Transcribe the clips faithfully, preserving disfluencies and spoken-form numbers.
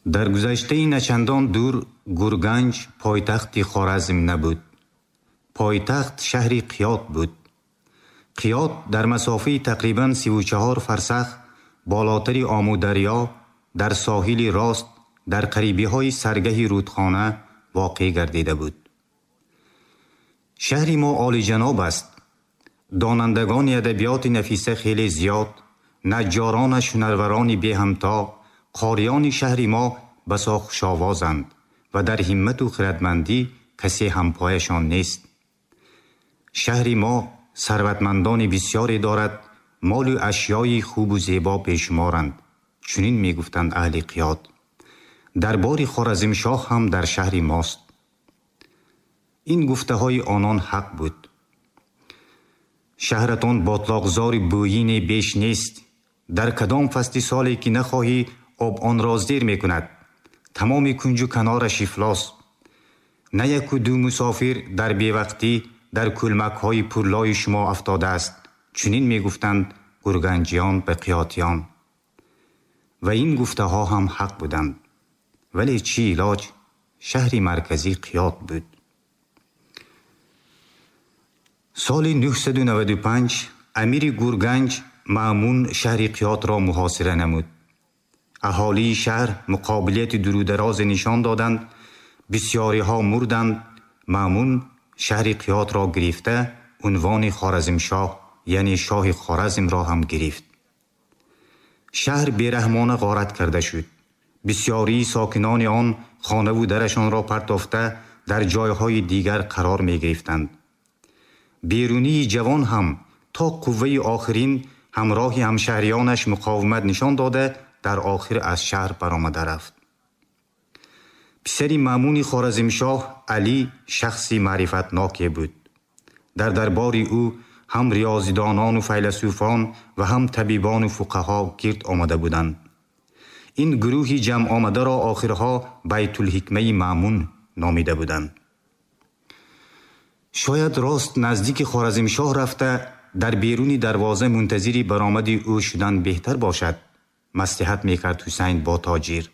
Дар гузаштаи начандон дур Гурганҷ пойтахти Хоразм набуд. Пойтахт шаҳри Қиёт буд. Қиёт дар масофаи тақрибан сиву чаҳор фарсах болотари Омударё дар соҳили рост дар қарибиҳои саргаҳи рудхона воқеъ гардида буд. Шаҳри мо олиҷаноб аст. Донандагони адабиёти нафиса хеле зиёд, наҷҷоронаш ҳунарварони беҳамто, қориёни шаҳри мо басо хушовозанд ва дар ҳиммату хирадмандӣ касе ҳампояшон нест. Шаҳри мо сарватмандони бисёре дорад, молу ашёи хубу зебо бешуморанд. Чунин мегуфтанд аҳли Қиёт. Дарбори Хоразмшоҳ ҳам дар шаҳри мост. Ин гуфтаҳои онон ҳақ буд. Шаҳратон ботлоқзори бӯйине беш нест. Дар кадом фасли соле ки нахоҳӣ, об онро зер мекунад. Тамоми кунҷу канораш ифлос. На яку ду мусофир дар бевақтӣ дар кӯлмакҳои пурлои шумо афтодааст. Чунин мегуфтанд гурганҷиён ба қиётиён. Ва ин гуфтаҳо ҳам ҳақ буданд. Вале чӣ илоҷ? Шаҳри марказӣ Қиёт буд. Соли нӯҳсаду наваду панҷ амири Гурганҷ Маъмун шаҳри Қиётро муҳосира намуд. Аҳолии шаҳр муқобилияти дурударозе нишон доданд, бисёриҳо мурданд. Маъмун шаҳри Қиётро гирифта, унвони Хоразмшоҳ, яъне шоҳи Хоразмро ҳам гирифт. Шаҳр бераҳмона ғорат карда шуд. Бисёрии сокинони он хонаву дарашонро партофта дар ҷойҳои дигар қарор мегирифтанд. Берунии ҷавон ҳам то қувваи охирин ҳамроҳи ҳамшаҳриёнаш муқовимат нишон дода, дар охир аз шаҳр баромада рафт. Писари Маъмуни Хоразмшоҳ Алӣ шахси маърифатноке буд. Дар дарбори ӯ ҳам риёзидонону файласуфон ва ҳам табибону фуқаҳо гирд омада буданд. Ин гурӯҳи ҷамъомадаро охирҳо Байтулҳикмаи Маъмун номида буданд. Шояд рост наздики Хоразмшоҳ рафта дар беруни дарвоза мунтазири баромади ӯ шудан беҳтар бошад, маслиҳат мекард Ҳусайн бо тоҷир.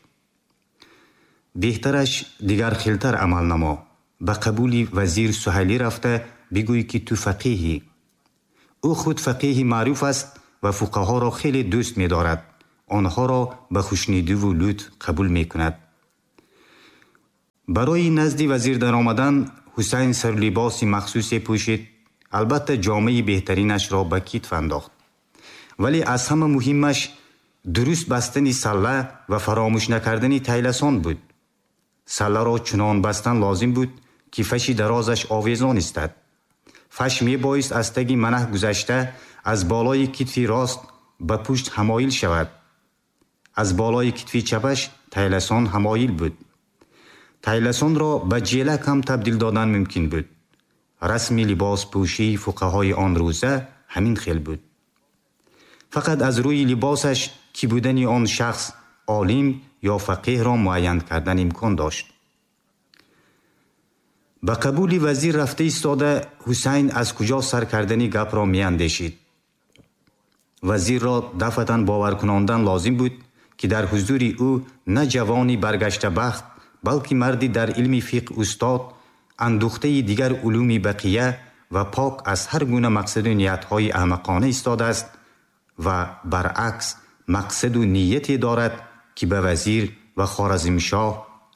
Беҳтараш дигар хелтар амал намо. Ба қабули вазир Суҳайлӣ рафта бигӯй ки ту фақеҳӣ. Ӯ худ фақеҳи маъруф аст ва фуқаҳоро хеле дӯст медорад. Онҳоро ба хушнидиву лутф қабул мекунад. Барои назди вазир даромадан Ҳусайн сарулибоси махсусе пӯшид, албатта ҷомаи беҳтаринашро ба китф андохт. Вале аз ҳама муҳимаш дуруст бастани салла ва фаромӯш накардани тайласон буд. Салларо чунон бастан лозим буд, ки фаши дарозаш овезон истад. Фаш мебоист аз таги манаҳ гузашта аз болои китфи рост ба пушт ҳамоил шавад. Аз болои китфи чапаш тайласон ҳамоил буд. Тайласонро ба ҷелак ҳам табдил додан мумкин буд. Расми либоспӯшии фуқаҳои он рӯза ҳамин хел буд. Фақат аз рӯи либосаш ки будани он шахс олим ё фақеҳро муайян кардан имкон дошт. Ба қабули вазир рафта истода Ҳусайн аз куҷо сар кардани гапро меандешид. Вазирро дафъатан боваркунондан лозим буд, ки дар ҳузури ӯ на ҷавони баргаштабахт, балки марди дар илми фиқҳ устод, андухтаи дигар улуми бақия ва пок аз ҳар гуна мақсаду ниятҳои аҳмақона истодааст ва баръакс мақсаду нияте дорад, ки ба вазир ва Хоразмшоҳ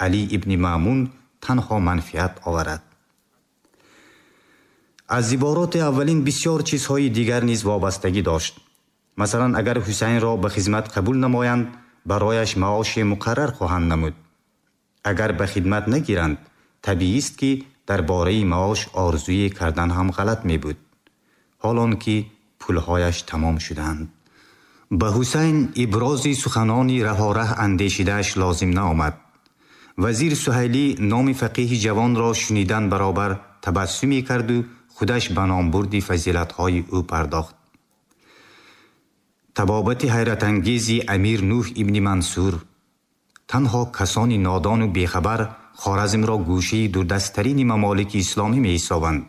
Алӣ ибни Маъмун танҳо манфиат оварад. Аз ибороти аввалин бисёр чизҳои дигар низ вобастагӣ дошт. Масалан, агар Ҳусайнро ба хизмат қабул намоянд, барояш маоши муқаррар хоҳанд намуд. Агар ба хидмат нагиранд, табиист, ки дар бораи маош орзуе кардан ҳам ғалат мебуд, ҳолон ки пулҳояш тамом шуданд. Ба Ҳусайн ибрози суханони раҳораҳ андешидааш лозим наомад. Вазир Суҳайлӣ номи фақеҳи ҷавонро шунидан баробар табассуме карду худаш ба номбурди фазилатҳои ӯ пардохт. Табобати ҳайратангези амир Нӯҳ ибни Мансур. Танҳо касони нодону бехабар Хоразмро гӯшаи дурдасттарини мамолики исломӣ меҳисобанд.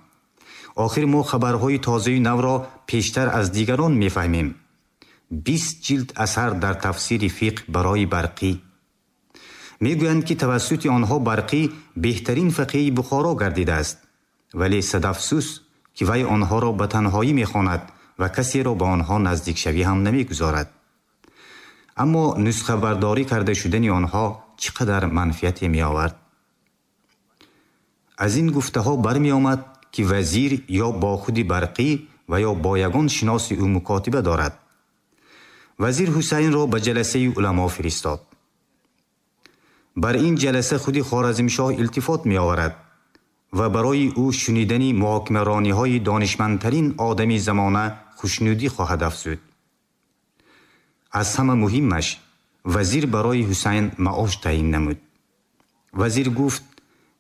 Охир мо хабарҳои тозаю навро пештар аз дигарон мефаҳмем. Бист ҷилд асар дар тафсири фиқҳ барои барқӣ. Мегӯянд, ки тавассути онҳо Барқӣ беҳтарин фақеҳи Бухоро гардидааст. Вале садафсӯс, ки вай онҳоро ба танҳоӣ мехонад ва касеро ба онҳо наздикшавӣ ҳам намегузорад. Аммо нусхабардорӣ карда шудани онҳо чӣ қадар манфиате меовард? Аз ин гуфтаҳо бармеомад, ки вазир ё бо худи Барқӣ ва ё бо ягон шиноси ӯ мукотиба дорад. Вазир Ҳусайнро ба ҷаласаи уламо фиристод. Бар ин ҷаласа худи Хоразмшоҳ илтифот меоварад ва барои ӯ шунидани муҳокимарониҳои донишмандтарин одами замона хушнудӣ хоҳад афзуд. Аз ҳама муҳиммаш, вазир барои Ҳусайн маош таъин намуд. Вазир гуфт,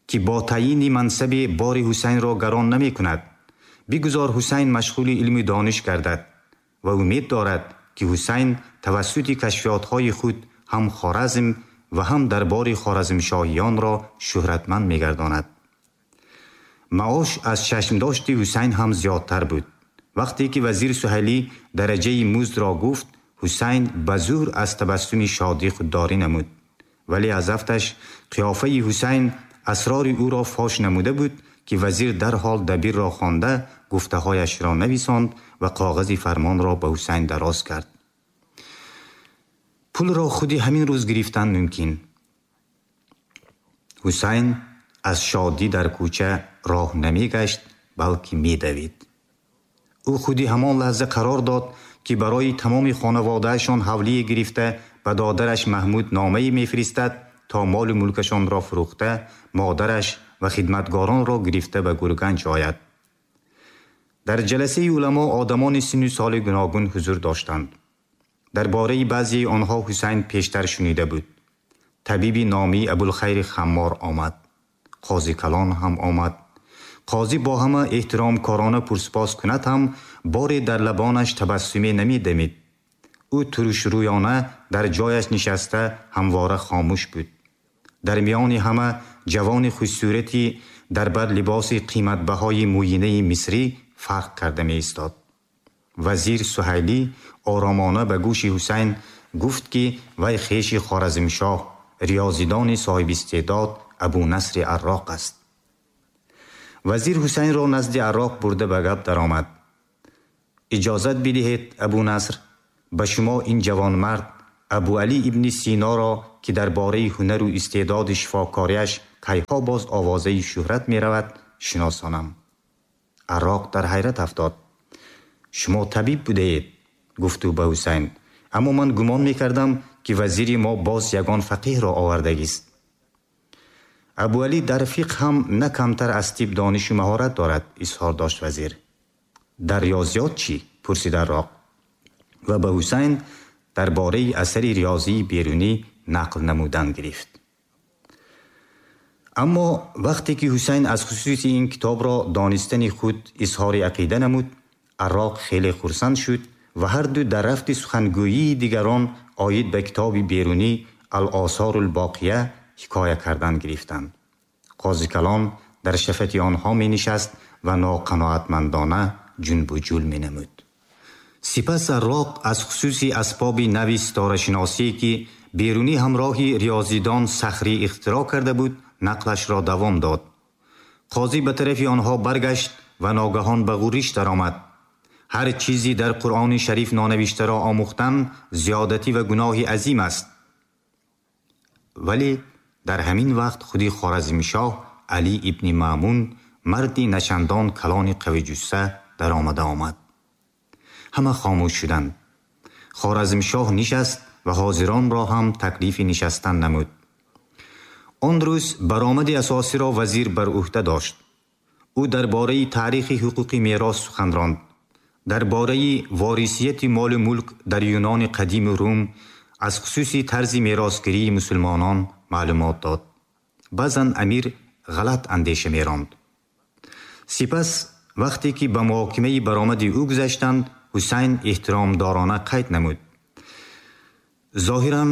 ки бо таъйини мансаби бори Ҳусайнро гарон намекунад. Бигузор Ҳусайн машғули илми дониш гардад ва умед дорад, ки Ҳусайн тавассути кашфиётҳои худ ҳам Хоразм ва ҳам дарбори хоразмшоҳиёнро шӯҳратманд мегардонад. Маош аз чашмдошти Ҳусайн ҳам зиёдтар буд. Вақте ки вазир Суҳайлӣ дараҷаи муздро гуфт, Ҳусайн ба зӯр аз табассуми шодӣ худдорӣ намуд. Вале аз афташ қиёфаи Ҳусайн асрори ӯро фош намуда буд, ки вазир дарҳол дабирро хонда гуфтаҳояшро нависонд ва коғази фармонро ба Ҳусайн дароз кард. Пулро худи ҳамин рӯз гирифтан мумкин. Ҳусайн аз шодӣ дар кӯча роҳ намегашт, балки медавид. Ӯ худи ҳамон лаҳза қарор дод, ки барои тамоми хонаводаашон ҳавлие гирифта ба додараш Маҳмуд номае мефиристад, то молу мулкашонро фурӯхта, модараш ва хидматгоронро гирифта ба Гурганҷ ояд. Дар ҷаласаи уламо одамони синну соли гуногун ҳузур доштанд. Дар бораи баъзеи онҳо Ҳусайн пештар шунида буд. Табиби номӣ Абулхайри Хаммор омад. Қози калон ҳам омад. Қозӣ бо ҳама эҳтиромкорона пурсупос кунад ҳам боре дар лабонаш табассуме намедамид. Ӯ турушрӯёна дар ҷояш нишаста ҳамвора хомӯш буд. Дар миёни ҳама ҷавони хушсурати дар бар либоси қиматбаҳои мӯйинаи мисрӣ фарқ карда меистод. Вазир Суҳайлӣ оромона ба гӯши Ҳусайн гуфт, ки вай хеши Хоразмшоҳ, риёзидони соҳибистеъдод Абунасри Арроқ аст. Вазир Ҳусайнро назди Арроқ бурда ба гап даромад. Иҷозат бидиҳед, Абунаср, ба шумо ин ҷавонмард Абуалӣ ибни Синоро, ки дар бораи ҳунару истеъдоди шифокориаш кайҳо боз овозаи шӯҳрат меравад, шиносонам. Арроқ дар ҳайрат афтод. Шумо табиб будаед, гуфт ӯ ба Ҳусайн, аммо ман гумон мекардам, ки вазири мо боз ягон фақеҳро овардагист. Абуалӣ дар фиқҳ ҳам на камтар аз тиб донишу маҳорат дорад, изҳор дошт вазир. Дар риёзиёт чӣ? Пурсид Арроқ ва ба Ҳусайн дар бораи асари риёзии Берунӣ нақл намудан гирифт. Аммо вақте ки Ҳусайн аз хусуси ин китобро донистани худ изҳори ақида намуд, Арроқ хеле хурсанд шуд ва ҳарду дар рафти сухангӯии дигарон оид ба китоби Берунӣ Ал-Осорул-Боқия ҳикоя кардан гирифтанд. Қози калон дар шафати онҳо менишаст ва ноқаноатмандона ҷунбуҷул менамуд. Сипас Арроқ аз хусуси асбоби нави ситорашиносие, ки Берунӣ ҳамроҳи риёзидон Сахрӣ ихтироъ карда буд, нақлашро давом дод. Қозӣ ба тарафи онҳо баргашт ва ногаҳон ба ғурриш даромад. Ҳар чизи дар Қуръони шариф нонавиштаро омӯхтан зиёдатӣ ва гуноҳи азим аст. Вале дар ҳамин вақт худи Хоразмшоҳ Алӣ ибни Маъмун, марди начандон калони қавиҷусса, даромада омад. Ҳама хомӯш шуданд. Хоразмшоҳ нишаст ва ҳозиронро ҳам таклифи нишастан намуд. Он рӯз баромади асосиро вазир бар ӯҳда дошт. Ӯ дар бораи таърихи ҳуқуқи мерос сухан ронд. Дар бораи ворисияти молу мулк дар Юнони қадиму Рум, аз хусуси тарзи меросгирии мусулмонон маълумот дод. Баъзан амир ғалат андеша меронд. Сипас вақте ки ба муҳокимаи баромади ӯ гузаштанд, Ҳусайн эҳтиромдорона қайд намуд. Зоҳиран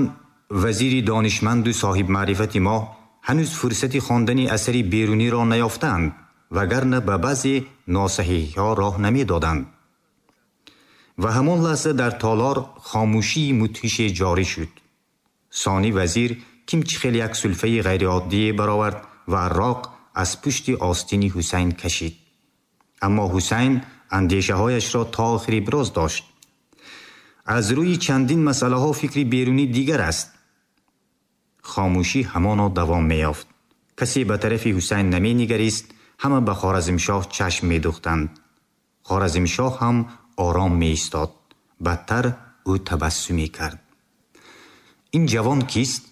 вазири донишманду соҳибмаърифати мо ҳанӯз фурсати хондани асари Беруниро наёфтаанд, вагарна ба баъзе носаҳиҳҳо роҳ намедоданд. Ва ҳамон лаҳза дар толор хомӯшии мудҳише ҷорӣ шуд. Сонӣ вазир, ким чӣ хел як сулфаи ғайриоддие баровард ва арроқ аз пушти остини Ҳусайн кашид. Аммо Ҳусайн андешаҳояшро то охир иброз дошт. Аз рӯи чандин масъалаҳо фикри Берунӣ дигар аст. Хомӯшӣ ҳамоно давом меёфт. Касе ба тарафи Ҳусайн наменигарист, ҳама ба Хоразмшоҳ чашм медухтанд. Хоразмшоҳ ҳам ором меистод. Бадтар, ӯ табассум мекард. Ин ҷавон кист?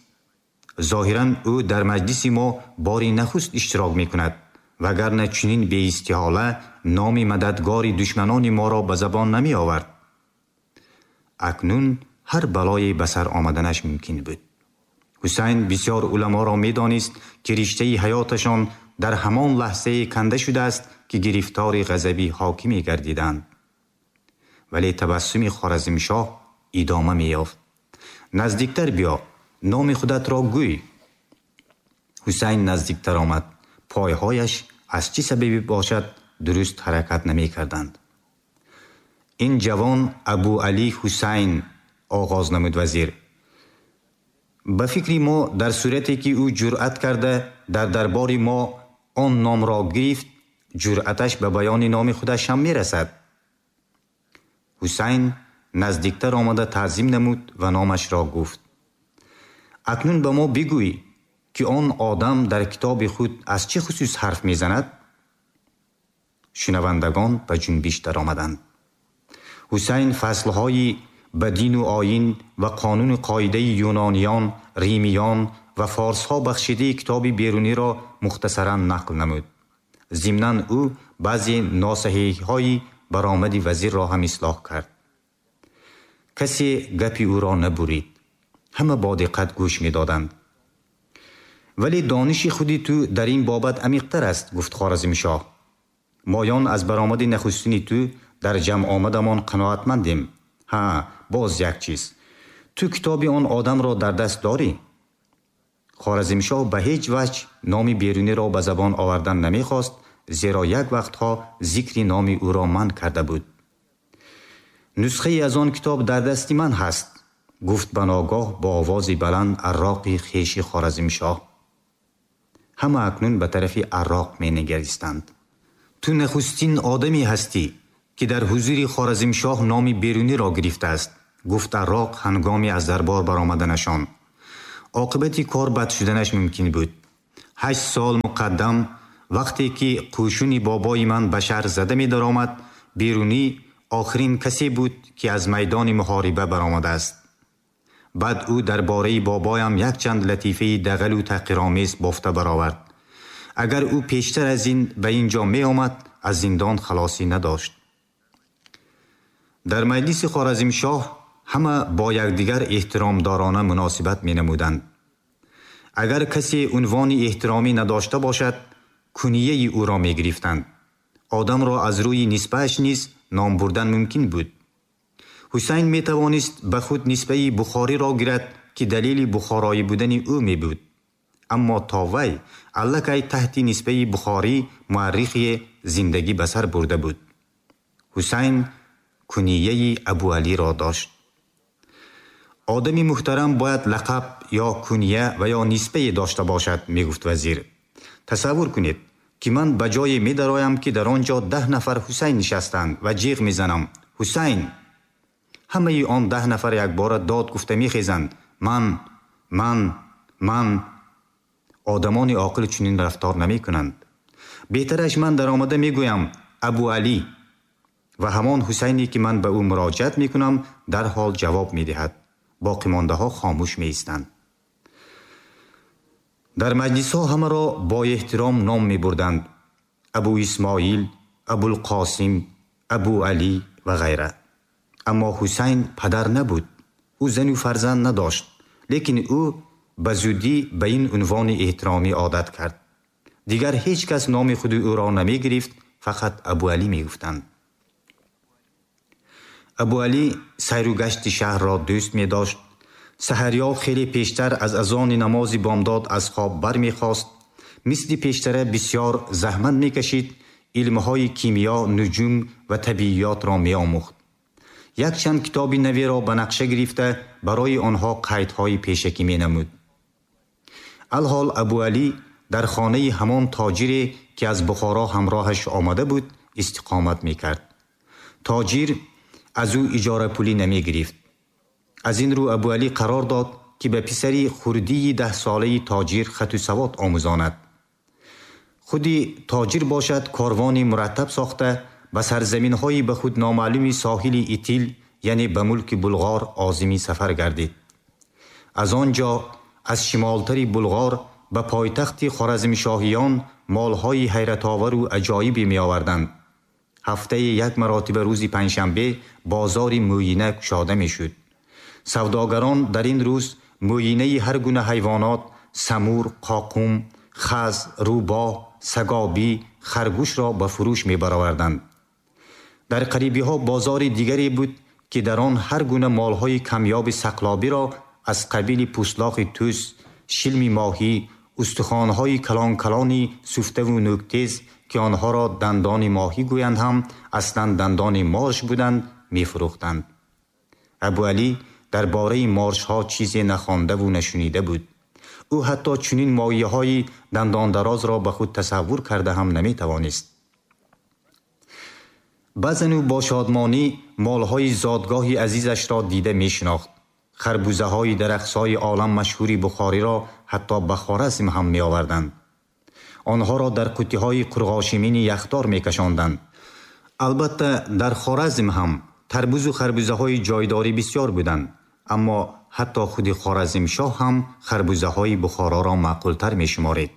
Зоҳиран, ӯ дар маҷлиси мо бори нахуст иштирок мекунад, вагарна чунин беистиҳола номи мададгори душманони моро ба забон намеовард. Акнун ҳар балое ба сар омаданаш мумкин буд. Ҳусайн бисёр уламоро медонист, ки риштаи ҳаёташон дар ҳамон лаҳзае канда шудааст, ки гирифтори ғазаби ҳокиме гардиданд. Вале табассуми Хоразмшоҳ идома меёфт. Наздиктар биё, номи худатро гӯй. Ҳусайн наздиктар омад. Пойҳояш аз чӣ сабабе бошад, дуруст ҳаракат намекарданд. Ин ҷавон Абу Алӣ Ҳусайн, оғоз намуд вазир. Ба фикри мо, дар сурате ки ӯ ҷуръат карда дар дарбори мо он номро гирифт, ҷуръаташ ба баёни номи худаш ҳам мерасад. Ҳусайн наздиктар омада, таъзим намуд ва номашро гуфт. Акнун ба мо бигӯй, ки он одам дар китоби худ аз чӣ хусус ҳарф мезанад? Шунавандагон ба ҷунбиш даромаданд. Ҳусайн фаслҳои ба дину оин ва қонуну қоидаи юнониён, римиён ва форсҳо бахшидаи китоби Беруниро мухтасаран нақл намуд. Зимнан ӯ баъзе носаҳеҳҳои баромади вазирро ҳам ислоҳ кард. Касе гапи ӯро набурид. Ҳама бо диққат гӯш медоданд. Вале дониши худи ту дар ин бобат амиқтар аст, гуфт Хоразмшоҳ. Моён аз баромади нахустини ту дар ҷамъ омадамон қаноатмандем. Ҳа, боз як чиз: ту китоби он одамро дар даст дорӣ? Хоразмшоҳ ба ҳеҷ ваҷ номи Беруниро ба забон овардан намехост, зеро як вақтҳо зикри номи ӯро манъ карда буд. Нусхае аз он китоб дар дасти ман ҳаст, гуфт ба ногоҳ бо овози баланд арроқи хеши Хоразмшоҳ. Ҳама акнун ба тарафи арроқ менигаристанд. Ту нахустин одаме ҳастӣ, ки дар ҳузури Хоразмшоҳ номи Беруниро гирифтааст, гуфт арроқ ҳангоми аз дарбор баромаданашон. Оқибати кор бад шуданаш мумкин буд. Ҳашт сол муқаддам, вақте ки қӯшуни бобои ман ба шаҳр зада медаромад, Берунӣ охирин касе буд, ки аз майдони муҳориба баромадааст. Баъд ӯ дар бораи бобоям якчанд латифаи дағалу таҳқиромез бофта баровард. Агар ӯ пештар аз ин ба ин ҷо меомад, аз зиндон халосӣ надошт. Дар маҷлиси Хоразмшоҳ ҳама бо якдигар эҳтиромдорона муносибат менамуданд. Агар касе унвони эҳтиромӣ надошта бошад, кунияи ӯро мегирифтанд. Одамро аз рӯи нисбааш низ ном бурдан мумкин буд. Ҳусайн метавонист ба худ нисбаи Бухориро гирад, ки далели бухороӣ будани ӯ мебуд. Аммо то вай аллакай таҳти нисбаи Бухорӣ муаррихе зиндагӣ ба сар бурда буд. Ҳусайн кунияи Абуалиро дошт. Одами муҳтарам бояд лақаб ё куния ва ё нисбае дошта бошад, мегуфт вазир. Тасаввур кунед, ки ман ба ҷое медароям, ки дар он ҷо даҳ нафар Ҳусайн нишастанд, ва ҷиғ мезанам: «Ҳусайн!» Ҳамаи он даҳ нафар якбора дод гуфта мехезанд: «Ман, ман, ман!» Одамони оқил чунин рафтор намекунанд. Беҳтараш ман даромада мегӯям: «Абуалӣ», ва ҳамон Ҳусайне, ки ман ба ӯ муроҷиат мекунам, дарҳол ҷавоб медиҳад. Боқимондаҳо хомӯш меистанд. Дар маҷлисҳо ҳамаро бо эҳтиром ном мебурданд: Абу Исмоил, Абулқосим, Абу Алӣ ва ғайра. Аммо Ҳусайн падар набуд. Ӯ зану фарзанд надошт, лекин ӯ ба зудӣ ба ин унвони эҳтиромӣ одат кард. Дигар ҳеҷ кас номи худи ӯро намегирифт, фақат Абуалӣ мегуфтанд. Абуалӣ сайру гашти шаҳрро дӯст медошт. Саҳарё хеле пештар аз азони намози бомдод аз хоб бармехост. Мисли пештара бисёр заҳмат мекашид, илмҳои кимиё, нуҷум ва табиётро меомӯхт. Якчанд китоби наверо ба нақша гирифта, барои онҳо қайдҳои пешакӣ менамуд. Алҳол Абуалӣ дар хонаи ҳамон тоҷире, ки аз Бухоро ҳамроҳаш омада буд, истиқомат мекард. Тоҷир аз ӯ иҷорапулӣ намегирифт. Аз ин рӯ Абуалӣ қарор дод, ки ба писари хурдии даҳсолаи тоҷир хату савод омӯзонад. Худи тоҷир бошад, корвони мураттаб сохта ба сарзаминҳои ба худ номаълуми соҳили Итил, яъне ба мулки Булғор озими сафар гардид. Аз он ҷо аз шимолтари Булғор ба пойтахти Хоразмшоҳиён молҳои ҳайратовару аҷоибе меоварданд. Ҳафтаи як маротиба рӯзи панҷшанбе бозори мӯйина кушода мешуд. Савдогарон дар ин рӯз мӯйинаи ҳар гуна ҳайвонот, самур, қоқум, хаз, рӯбоҳ, сагобӣ, харгӯшро ба фурӯш мебароварданд. Дар қарибиҳо бозори дигаре буд, ки дар он ҳар гуна молҳои камёби сақлобиро аз қабили пӯслоқи тӯс, шилми моҳӣ, устухонҳои калон-калони суфтаву нӯктез, ки онҳоро дандони моҳӣ гӯянд ҳам аслан дандони морш буданд, мефурӯхтанд. Абуалӣ дар бораи моршҳо чизе нахондаву нашунида буд. Ӯ ҳатто чунин моҳиҳои дандондарозро ба худ тасаввур карда ҳам наметавонист. Баъзан ӯ бо шодмонӣ молҳои зодгоҳи азизашро дида мешинохт. Харбузаҳои дарахтсои олам машҳури Бухориро ҳатто ба Хоразм ҳам меоварданд. Онҳоро дар қуттиҳои қурғошимини яхдор мекашонданд. Албатта, дар Хоразм ҳам тарбузу харбузаҳои ҷойдорӣ бисёр буданд, аммо ҳатто худи Хоразмшоҳ ҳам харбузаҳои Бухороро маъқултар мешуморид.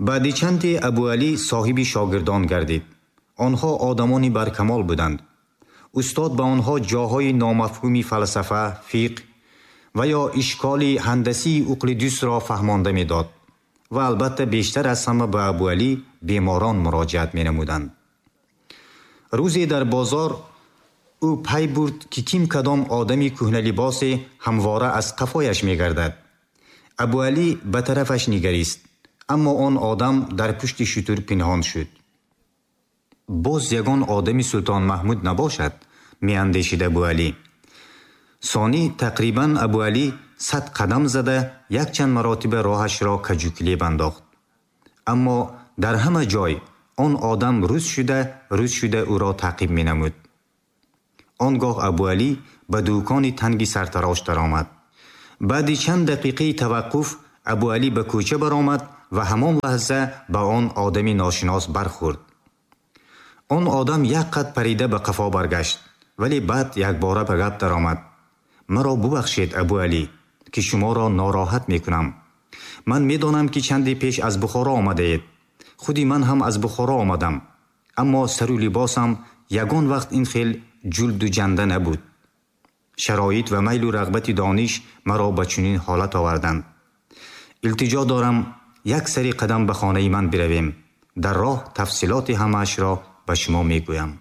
Баъди чанде Абуалӣ соҳиби шогирдон гардид. Онҳо одамони баркамол буданд. Устод ба онҳо ҷоҳои номафҳуми фалсафа, фиқҳ ва ё ишколи ҳандасии Уқлидусро фаҳмонда медод ва албатта бештар аз ҳама ба Абуалӣ беморон муроҷиат менамуданд. Рӯзе дар бозор ӯ пай бурд, ки ким кадом одами кӯҳналибосе ҳамвора аз қафояш мегардад. Абуалӣ ба тарафаш нигарист, аммо он одам дар пушти шутур пинҳон шуд. Боз ягон одами Султон Маҳмуд набошад, меандешид Абуалӣ. Сонӣ тақрибан Абуалӣ сад қадам зада якчанд маротиба роҳашро каҷукилеб андохт. Аммо дар ҳама ҷой он одам рӯз шуда рӯз шуда ӯро таъқиб менамуд. Он гоҳ Абуалӣ ба дукони танги сартарош даромад. Баъди чанд дақиқаи таваққуф Абуалӣ ба кӯча баромад ва ҳамон лаҳза ба он одами ношинос бархӯрд. Он одам як қад парида ба қафо баргашт, вале баъд якбора ба гап даромад. Маро бубахшед, Абуалӣ, ки шуморо нороҳат мекунам. Ман медонам, ки чанде пеш аз Бухоро омадаед. Худи ман ҳам аз Бухоро омадам, аммо сару либосам ягон вақт ин хел ҷулду ҷанда набуд. Шароит ва майлу рағбати дониш маро ба чунин ҳолат оварданд. Илтиҷо дорам, як сари қадам ба хонаи ман биравем. Дар роҳ тафсилоти ҳамаашро ба шумо мегӯям.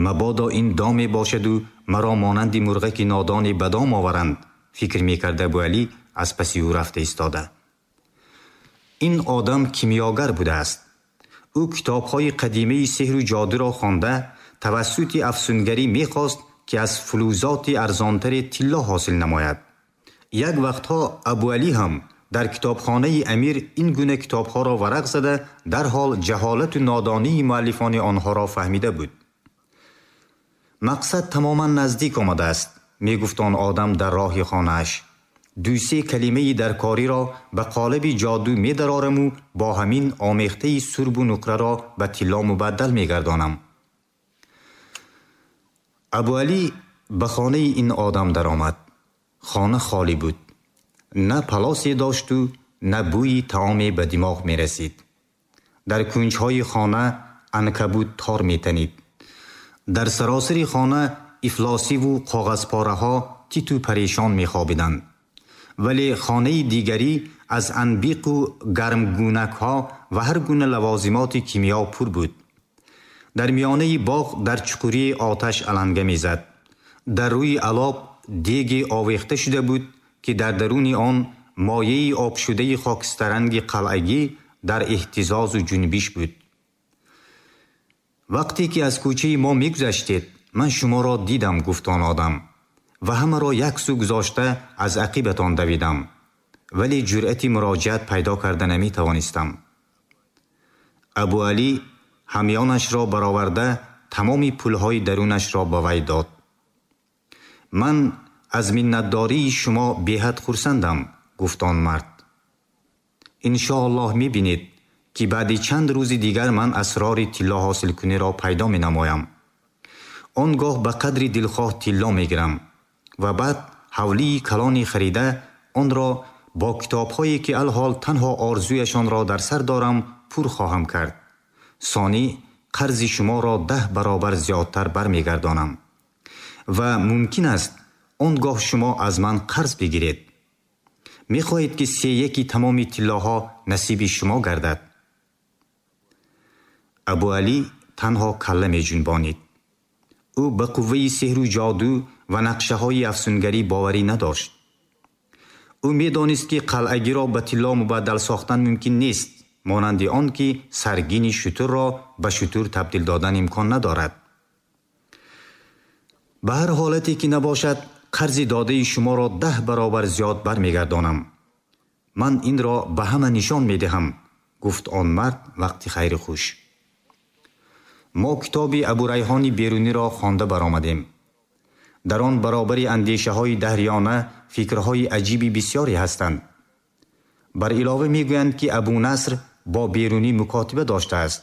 Мабодо ин доме бошаду маро монанди мурғаки нодоне ба дом оваранд, фикр мекард Абуалӣ аз паси ӯ рафта истода. Ин одам кимиёгар будааст. Ӯ китобҳои қадимаи сеҳру ҷодуро хонда, тавассути афсунгарӣ мехост, ки аз фулузоти арзонтаре тилло ҳосил намояд. Як вақтҳо Абуалӣ ҳам дар китобхонаи амир ин гуна китобҳоро варақ зада, дарҳол ҷаҳолату нодонии муаллифони онҳоро фаҳмида буд. Мақсад тамоман наздик омадааст, мегуфт он одам дар роҳи хонааш. Ду-се калимаи даркориро ба қолаби ҷоду медарораму бо ҳамин омехтаи сурбу нуқраро ба тилло мубаддал мегардонам. Абуалӣ ба хонаи ин одам даромад. Хона холӣ буд. На палосе дошту на бӯи таоме ба димоғ мерасид. Дар кунҷҳои хона анкабут тор метанид. Дар саросари хона ифлосиву коғазпораҳо титу парешон мехобиданд. Вале хонаи дигарӣ аз анбиқу гармгӯнакҳо ва ҳар гуна лавозимоти кимиё пур буд. Дар миёнаи боғ дар чуқурии оташ аланга мезад. Дар рӯи алоб деге овехта шуда буд, ки дар даруни он мояи обшудаи хокистаранги қалъагӣ дар эҳтизозу ҷунбиш буд. Вақте ки аз кӯчаи мо мегузаштед, ман шуморо дидам, гуфт он одам, ва ҳамаро як сӯ гузошта аз ақибатон давидам. Вале ҷуръати муроҷиат пайдо карда наметавонистам. Абуалӣ ҳамёнашро бароварда тамоми пулҳои дарунашро ба вай дод. Ман аз миннатдории шумо беҳад хурсандам, гуфт он мард. Иншоаллоҳ мебинед, ки баъди чанд рӯзи дигар ман асрори тилло ҳосилкуниро пайдо менамоям. Он гоҳ ба қадри дилхоҳ тилло мегирам ва баъд ҳавлии калони харида онро бо китобҳое ки алҳол танҳо орзуяшонро дар сар дорам пур хоҳам кард. Сонӣ қарзи шуморо даҳ баробар зиёдтар бармегардонам. Ва мумкин аст он гоҳ шумо аз ман қарз бигиред. Мехоҳед ки сеяки тамоми тиллоҳо насиби шумо гардад. Абуалӣ танҳо калла меҷунбонид. Ӯ ба қувваи сеҳру ҷоду ва нақшаҳои афсунгарӣ боварӣ надошт. Ӯ медонист, ки қалъагиро ба тилло мубаддал сохтан мумкин нест, монанди он ки саргини шутурро ба шутур табдил додан имкон надорад. Ба ҳар ҳолате ки набошад, қарзи додаи шуморо даҳ баробар зиёд бармегардонам. Ман инро ба ҳама нишон медиҳам, гуфт он мард вақти хайри хуш. Мо китоби Абурайҳони Беруниро хонда баромадем. Дар он баробари андешаҳои даҳриёна фикрҳои аҷиби бисёре ҳастанд. Бар илова мегӯянд, ки Абунаср бо Берунӣ мукотиба доштааст.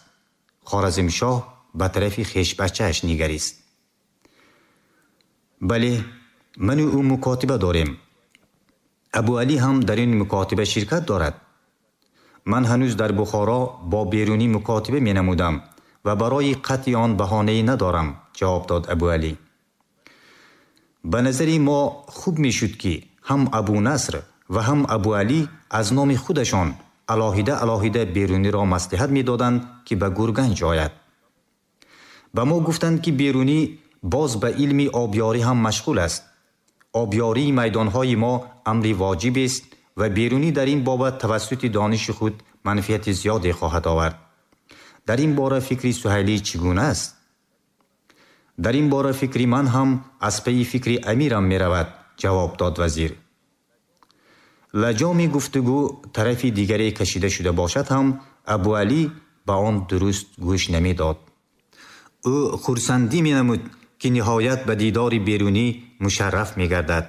Хоразмшоҳ ба тарафи хешбачааш нигарист. Бале, ману ӯ мукотиба дорем. Абуалӣ ҳам дар ин мукотиба ширкат дорад. Ман ҳанӯз дар Бухоро бо Берунӣ мукотиба менамудам ва барои қатъи он баҳонае надорам, ҷавоб дод Абуалӣ. Ба назари мо хуб мешуд, ки ҳам Абунаср ва ҳам Абуалӣ аз номи худашон алоҳида алоҳида Беруниро маслиҳат медоданд, ки ба Гурганҷ ояд. Ба мо гуфтанд, ки Берунӣ боз ба илми обёрӣ ҳам машғул аст. Обёрии майдонҳои мо амри воҷибест ва Берунӣ дар ин бобат тавассути дониши худ манфиати зиёде хоҳад овард. Дар ин бора фикри Суҳайлӣ чӣ гуна аст? Дар ин бора фикри ман ҳам аз пайи фикри амирам меравад, ҷавоб дод вазир. Лаҷоми гуфтугӯ тарафи дигаре кашида шуда бошад ҳам Абуалӣ ба он дуруст гӯш намедод. Ӯ хурсандӣ менамуд, ки ниҳоят ба дидори Берунӣ мушарраф мегардад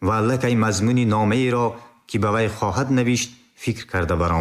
ва аллакай мазмуни номаеро, ки ба вай хоҳад навишт, фикр карда баромад.